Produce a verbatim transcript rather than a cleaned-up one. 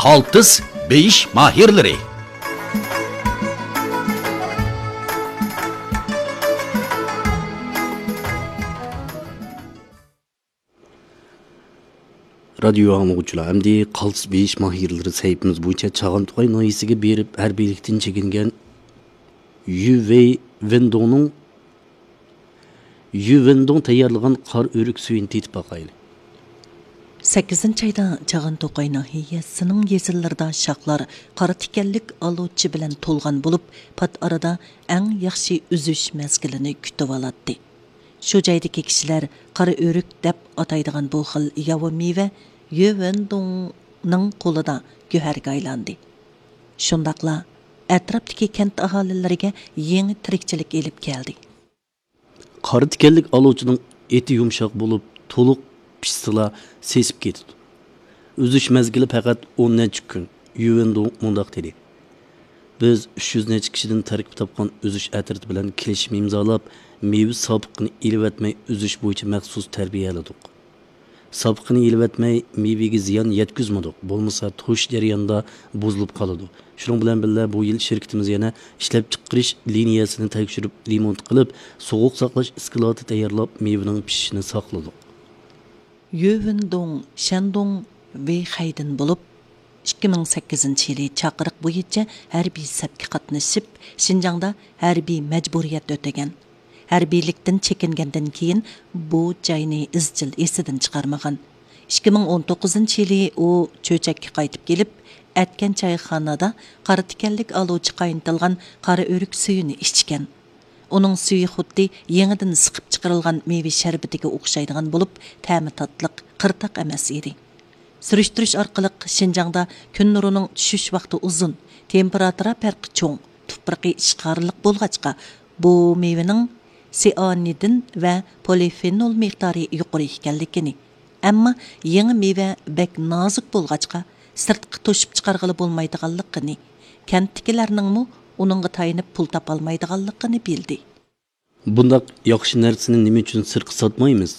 قالتىس بېيىش ماھىرلىرى. رادىيو ئاڭلىغۇچىلار، ئەمدى قالتىس بېيىش ماھىرلىرى سەھىپىمىز بويىچە چاغان توقاي ناھىيەسىگە بېرىپ، ھەربىيلىكتىن چېكىنگەن يۈ ۋېي ۋېندوڭنىڭ، يۈ ۋېندوڭ تەييارلىغان قارا ئۆرۈك سۈيىنى تېتىپ باقايلى. سەككىزىنچى ئايدا چاغان توقاي ناھىيەسىنىڭ يېزىلىرىدا شاخلار قارا تىكەنلىك ئالۇچى بىلەن تولغان بولۇپ، پات ئارىدا ئەڭ ياخشى ئۈزۈش مەزگىلىنى كۈتۈۋالاتتى. شۇ جايدىكى كىشىلەر قارا ئۆرۈك دەپ ئاتايدىغان بۇ خىل ياۋا مېۋە يۈ ۋېندوڭنىڭ قولىدا گۆھەرگە ئايلاندى. شۇنداقلا ئەتراپتىكى كەنت ئاھالىلىرىگە يېڭى تىرىكچىلىك ئېلىپ كەلدى. قارا تىكەنلىك ئالۇچىنىڭ ئېتى يۇمشاق بولۇپ، تولۇق پىشسىلا سېسىپ كېتىدۇ. ئۈزۈش مەزگىلى پەقەت ئون نەچچە كۈن. يۈ ۋېندوڭ مۇنداق دېدى: بىز ئۈچ يۈز نەچچە كىشىدىن تەركىب تاپقان ئۈزۈش ئەترىتى بىلەن كېلىشىم ئىمزالاپ، مېۋە ساپىقىنى ئېلىۋەتمەي ئۈزۈش بويىچە مەخسۇس تەربىيەلىدۇق. ساپىقىنى ئېلىۋەتمەي، مېۋىگە زىيان يەتكۈزمىدۇق، بولمىسا توشۇش جەريانىدا بۇزۇلۇپ قالىدۇ. شۇنىڭ بىلەن بىللە، بۇ يىل شىركىتىمىز يەنە ئىشلەپچىقىرىش لىنىيەسىنى تەكشۈرۈپ، رېمونت قىلىپ، سوغۇق ساقلاش ئىسكىلاتى تەييارلاپ، مېۋىنىڭ پىشىشىنى ساقلىدۇق. يۈ ۋېندوڭ شەندۇڭ ۋېيخەيدىن بولۇپ، ئىككى مىڭ سەككىزىنچى يىلى چاقىرىق بويىچە ھەربىي سەپكە قاتنىشىپ، شىنجاڭدا ھەربىي مەجبۇرىيەت ئۆتىگەن. ھەربىيلىكتىن چېكىنگەندىن كېيىن، بۇ جاينى ئىزچىل ئېسىدىن چىقارمىغان. ئىككى مىڭ ئون توققۇزىنچى يىلى ئۇ چۆچەككە قايتىپ كېلىپ، ئەتكەن چايخانىدا قارا تىكەنلىك ئالۇچى قاينىتىلغان قارا ئۆرۈك سۈيىنى ئىچكەن. ئۇنىڭ سۈيى خۇددى يېڭىدىن سىقىپ چىقىرىلغان مېۋە شەربىتىگە ئوخشايدىغان بولۇپ، تەمى تاتلىق، قىرتاق ئەمەس ئىدى. سۈرۈشتۈرۈش ئارقىلىق شىنجاڭدا كۈن نۇرىنىڭ چۈشۈش ۋاقتى ئۇزۇن، تېمپېراتۇرا پەرقى چوڭ، تۇپرىقى ئىشقارلىق بولغاچقا، بۇ مېۋىنىڭ سىئانىدىن ۋە پولىفېنول مىقدارى يۇقىرى ئىكەنلىكىنى، ئەمما يېڭى مېۋە بەك نازۇك بولغاچقا، سىرتقا توشۇپ چىقارغىلى بولمايدىغانلىقىنى، كەنتتىكىلەرنىڭمۇ ئۇنىڭغا تايىنىپ پۇل تاپالمايدىغانلىقىنى بىلدى. بۇنداق ياخشى نەرسىنى نېمە ئۈچۈن سىرتقا ساتمايمىز؟